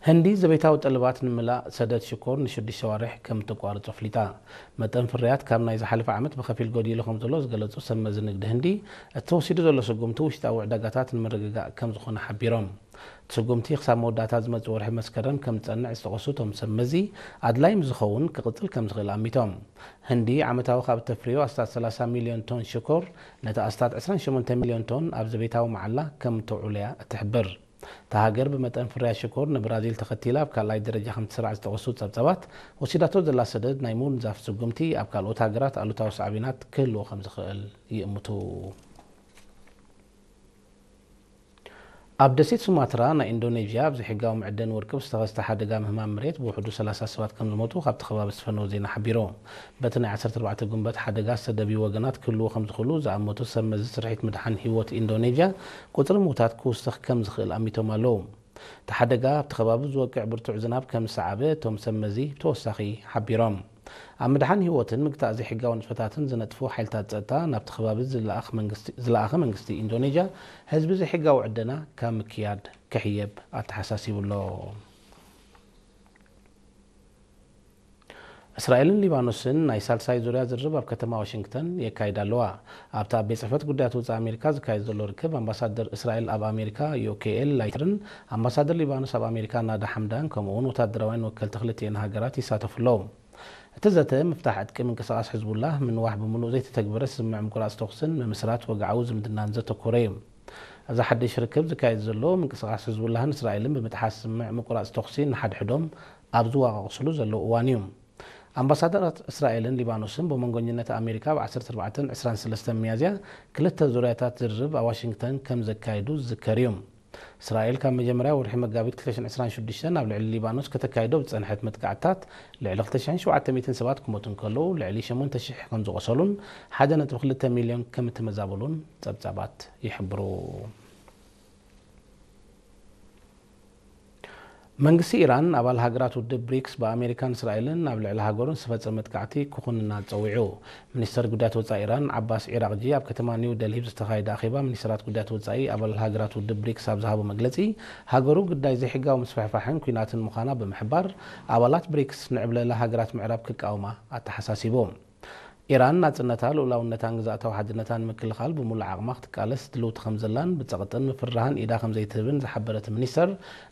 ህንዲ ዘቤታዊ ጠለባት ንምላእ ሰደድ ሽኮር ንሽዱሽተ ኣዋርሕ ከም እተቋርጾ ኣፍሊጣ። መጠን ፍርያት ካብ ናይ ዝሓለፈ ዓመት ብኸፊል ጎዲሉ ከም ዘሎ ዝገለጹ ሰብ መዚ ንግዲ ህንዲ፣ እቲ ተወሲዱ ዘሎ ስጉምቲ ውሽጣዊ ዕዳጋታት ንምርግጋእ ከም ዝኾነ ሓቢሮም። እቲ ስጉምቲ ክሳብ መወዳእታ ዝመጽእ ወርሒ መስከረም ከም ዝጸንዕ ዝጠቐሱ እቶም ሰብ መዚ፣ ኣድላይ ምስ ዝኸውን ክቕጽል ከም ዝኽእል ኣሚቶም። ህንዲ ዓመታዊ ካብ እተፍርዮ ኣስታት ሰላሳ ሚልዮን ቶን ሽኮር፣ ነቲ ኣስታት ዕስራን ሸሞንተ ሚልዮን ቶን ኣብ ዘቤታዊ መዓላ ከም እተውዕሎ እያ እትሕብር። እታ ሃገር ብመጠን ፍርያት ሽኮር ንብራዚል ተኸቲላ ኣብ ካልኣይ ደረጃ ከም ትስራዕ ዝጠቐሱ ጸብጻባት፣ ወሲዳቶ ዘላ ሰደድ ናይ ምውንዛፍ ስጉምቲ ኣብ ካልኦት ሃገራት ኣሉታዊ ሳዕቤናት ክህልዎ ከም ዝኽእል ይእምቱ። ኣብ ደሴት ሱማትራ ናይ ኢንዶኔዥያ ኣብ ዘይሕጋዊ መዕደኒ ወርቂ ብዝተኸስተ ሓደጋ ምህማም መሬት ብውሕዱ ሰላሳ ሰባት ከም ዝሞቱ ካብቲ ከባቢ ዝፈነወ ዜና ሓቢሩ። በቲ ናይ ዓሰርተ ኣርባዕተ ጉንበት ሓደጋ ዝተደብዩ ወገናት ክህልዉ ከም ዝኽእሉ ዝኣመቱ ሰብ መዚ ስርሒት ምድሓን ህይወት ኢንዶኔዥያ፣ ቁጽሪ ምዉታት ክውስኽ ከም ዝኽእል ኣሚቶም ኣለዉ። እቲ ሓደጋ ኣብቲ ከባቢ ዝወቅዕ ብርቱዕ ዝናብ ከም ዝሰዓበ እቶም ሰብ መዚ ብተወሳኺ ሓቢሮም። ኣብ ምድሓን ህይወትን ምግታእ ዘይሕጋዊ ንጥፈታትን ዝነጥፉ ሓይልታት ጸጥታ ናብቲ ከባቢ ዝለኣኽ መንግስቲ-፣ ዝለኣኸ መንግስቲ ኢንዶኔዥያ፣ ህዝቢ ዘይሕጋዊ ዕደና ካብ ምክያድ ክሕየብ ኣተሓሳሲቡ ኣሎ። እስራኤልን ሊባኖስን ናይ ሳልሳይ ዙርያ ዝርርብ ኣብ ከተማ ዋሽንግተን የካይዳ ኣለዋ። ኣብቲ ኣብ ቤት ጽሕፈት ጉዳያት ወጻኢ ኣሜሪካ ዝካየድ ዘሎ ርክብ፣ ኣምባሳደር እስራኤል ኣብ ኣሜሪካ ዮኬኤል ላይትርን ኣምባሳደር ሊባኖስ ኣብ ኣሜሪካ ናዳ ሓምዳን፣ ከምኡ'ውን ወታደራውያን ወከልቲ ክልቲኤን ሃገራት ይሳተፉ ኣለዉ። እቲ ዘተ፣ ምፍታሕ ዕጥቂ ምንቅስቓስ ሕዝቡላህ፣ ምንዋሕ ብምሉእ ዘይተተግበረ ስምምዕ ምቁራጽ ተኹስን ምምስራት ወግዓዊ ዝምድናን ዘተኮረ እዩ። እዚ ሓድሽ ርክብ ዝካየድ ዘሎ፣ ምንቅስቓስ ሕዝቡላህን እስራኤልን ብምጥሓስ ስምምዕ ምቁራጽ ተኹሲ ንሓድሕዶም ኣብ ዝዋቓቕስሉ ዘለዉ እዋን እዩ። ኣምባሳደራት እስራኤልን ሊባኖስን ብመንጎኝነት ኣሜሪካ ኣብ ዓሰርተ ኣርባዕተን ዕስራን ሰለስተን ሚያዝያ ክልተ ዙርያታት ዝርርብ ኣብ ዋሽንግተን ከም ዘካየዱ ዝዝከር እዩ። እስራኤል ካብ መጀመርያ ወርሒ መጋቢት ክልተ ሽሕን ዕስራን ሽዱሽተን ኣብ ልዕሊ ሊባኖስ ከተካይዶ ዝጸንሐት መጥቃዕትታት ልዕሊ ክልተ ሽሕን ሸውዓተ ሚእትን ሰባት ክሞቱ እንከለዉ፣ ልዕሊ ሸሞንተ ሽሕ ከም ዝቖሰሉን ሓደ ነጥቢ ክልተ ሚልዮን ከም እተመዛበሉን ጸብጻባት ይሕብሩ። መንግስቲ ኢራን ኣባል ሃገራት ውድብ ብሪክስ ብኣሜሪካን እስራኤልን ኣብ ልዕሊ ሃገሩን ዝተፈጸመ መጥቃዕቲ ክኹንና ጸዊዑ። ሚኒስተር ጉዳያት ወጻኢ ኢራን ዓባስ ዒራቕጂ ኣብ ከተማ ኒው ደልሂ ብዝተኻየደ ኣኼባ ሚኒስተራት ጉዳያት ወጻኢ ኣባል ሃገራት ውድብ ብሪክስ ኣብ ዝሃቦ መግለጺ፣ ሃገሩ ግዳይ ዘይሕጋዊ ምስፍሕፋሕን ኲናትን ምዃና ብምሕባር፣ ኣባላት ብሪክስ ንዕብለላ ሃገራት ምዕራብ ክቃወማ ኣተሓሳሲቡ። ኢራን ናጽነታ፣ ልኡላውነታን ግዝኣታዊ ሓድነታን ንምክልኻል ብምሉእ ዓቕማ ክትቃለስ ድልውቲ ከም ዘላን ብጸቕጥን ምፍርራህን ኢዳ ከም ዘይትህብን ዝሓበረ እቲ ሚኒስተር፣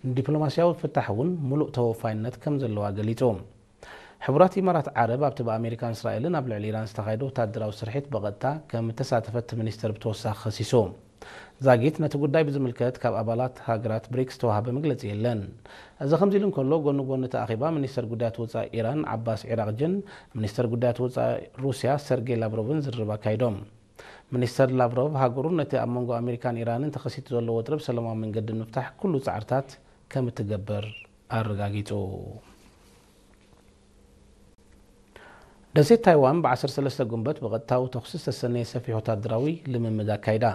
ንዲፕሎማስያዊ ፍታሕ እውን ምሉእ ተወፋይነት ከም ዘለዋ ገሊጹ። ሕቡራት ኢማራት ዓረብ ኣብቲ ብኣሜሪካን እስራኤልን ኣብ ልዕሊ ኢራን ዝተኻየደ ወታደራዊ ስርሒት ብቐጥታ ከም እተሳተፈ እቲ ሚኒስተር ብተወሳኺ ከሲሱ። ዛጊት ነቲ ጉዳይ ብዝምልከት ካብ ኣባላት ሃገራት ብሪክስ ዝተዋህበ መግለጺ የለን። እዚ ከምዚ ኢሉ እንከሎ፣ ጎኒ ጎኒ እቲ ኣኼባ ሚኒስተር ጉዳያት ወጻኢ ኢራን ዓባስ ዒራቕጅን ሚኒስተር ጉዳያት ወጻኢ ሩስያ ሰርጌይ ላቭሮቭን ዝርርብ ኣካይዶም። ሚኒስተር ላቭሮቭ ሃገሩ ነቲ ኣብ መንጎ ኣሜሪካን ኢራንን ተኸሲቱ ዘሎ ወጥሪ ብሰላማዊ መንገዲ ንምፍታሕ ኩሉ ጻዕርታት ከም እትገብር ኣረጋጊጹ። ደሴት ታይዋን ብ ዓሰርተ ሰለስተ ጉንበት ብቐጥታዊ ተኹሲ ዝተሰነየ ሰፊሕ ወታደራዊ ልምምድ ኣካይዳ።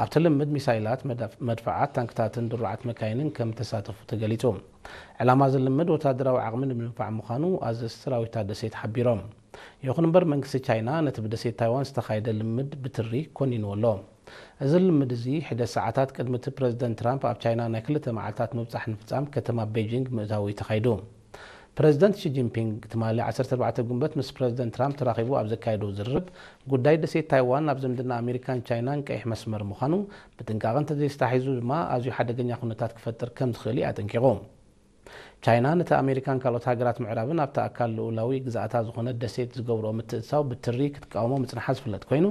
ኣብቲ ልምምድ ሚሳይላት፣ መድፍ-፣ መድፍዓት፣ ታንክታትን ድሩዓት መካይንን ከም እተሳተፉ ተገሊጹ። ዕላማ እዚ ልምምድ ወታደራዊ ዓቕሚ ንምድንፋዕ ምዃኑ ኣዘዝቲ ሰራዊት እታ ደሴት ሓቢሮም። ይኹን እምበር መንግስቲ ቻይና ነቲ ብደሴት ታይዋን ዝተኻየደ ልምምድ ብትሪ ኮኒንዎ ኣሎ። እዚ ልምምድ እዚ ሕደ ሰዓታት ቅድሚ እቲ ፕረዚደንት ትራምፕ ኣብ ቻይና ናይ ክልተ መዓልታት ምብጻሕ ንምፍጻም ከተማ ቤጂንግ ምእታዉ እዩ ተኻይዱ። ፕረዚደንት ሺ ጂንፒንግ ትማሊ ዓሰርተ ኣርባዕተ ጉንበት ምስ ፕረዚደንት ትራምፕ ተራኺቡ ኣብ ዘካየዶ ዝርርብ፣ ጉዳይ ደሴት ታይዋን ኣብ ዝምድና ኣሜሪካን ቻይናን ቀይሕ መስመር ምዃኑ፣ ብጥንቃቐ እንተዘይተታሒዙ ድማ ኣዝዩ ሓደገኛ ኩነታት ክፈጥር ከም ዝኽእል እዩ ኣጠንቂቑ። ቻይና ነቲ ኣሜሪካን ካልኦት ሃገራት ምዕራብን ኣብቲ ኣካል ልኡላዊ ግዝኣታ ዝኾነት ደሴት ዝገብርኦ ምትእትታው ብትሪ ክትቃወሞ ምጽንሓ ዝፍለጥ ኮይኑ፣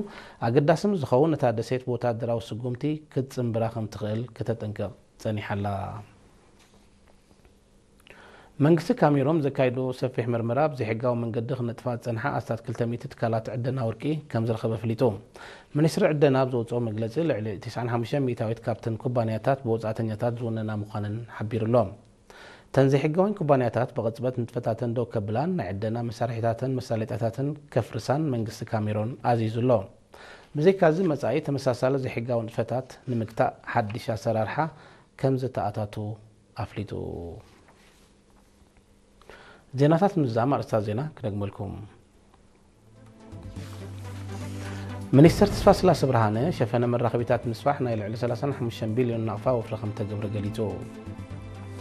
ኣገዳሲ ምስ ዝኸውን ነታ ደሴት ብወታደራዊ ስጉምቲ ክትጽንብራ ከም ትኽእል ከተጠንቅቕ ጸኒሓ ኣላ። መንግስቲ ካሜሮን ዘካየዶ ሰፊሕ መርመራ፣ ብዘይሕጋዊ መንገዲ ክነጥፋ ዝጸንሓ ኣስታት ክልተ ሚእቲ ትካላት ዕደና ወርቂ ከም ዝረኸበ ኣፍሊጡ። ሚኒስትሪ ዕደና ኣብ ዘውጽኦ መግለጺ፣ ልዕሊ ተስዓን ሓሙሽተን ሚእታዊት ካብተን ኩባንያታት ብወጻእተኛታት ዝውነና ምዃነን ሓቢሩ ኣሎ። እተን ዘይሕጋውያን ኩባንያታት ብቕጽበት ንጥፈታተን ደው ከብላን ናይ ዕደና መሳርሒታተን መሳለጥያታተን ከፍርሳን መንግስቲ ካሜሮን ኣዚዙ ኣሎ። ብዘይካዚ፣ መጻኢ ተመሳሳሊ ዘይሕጋዊ ንጥፈታት ንምግታእ ሓድሽ ኣሰራርሓ ከም ዝተኣታቱ ኣፍሊጡ። ዜናታት ምዝዛም ኣርእስታት ዜና ክደግመልኩም። ሚኒስተር ተስፋስላሰ ብርሃነ፣ ሸፈነ መራኸቢታት ምስፋሕ ናይ ልዕሊ ሰላሳን ሓሙሽተን ቢልዮን ናቕፋ ወፍሪ ከም ተገብረ ገሊጹ።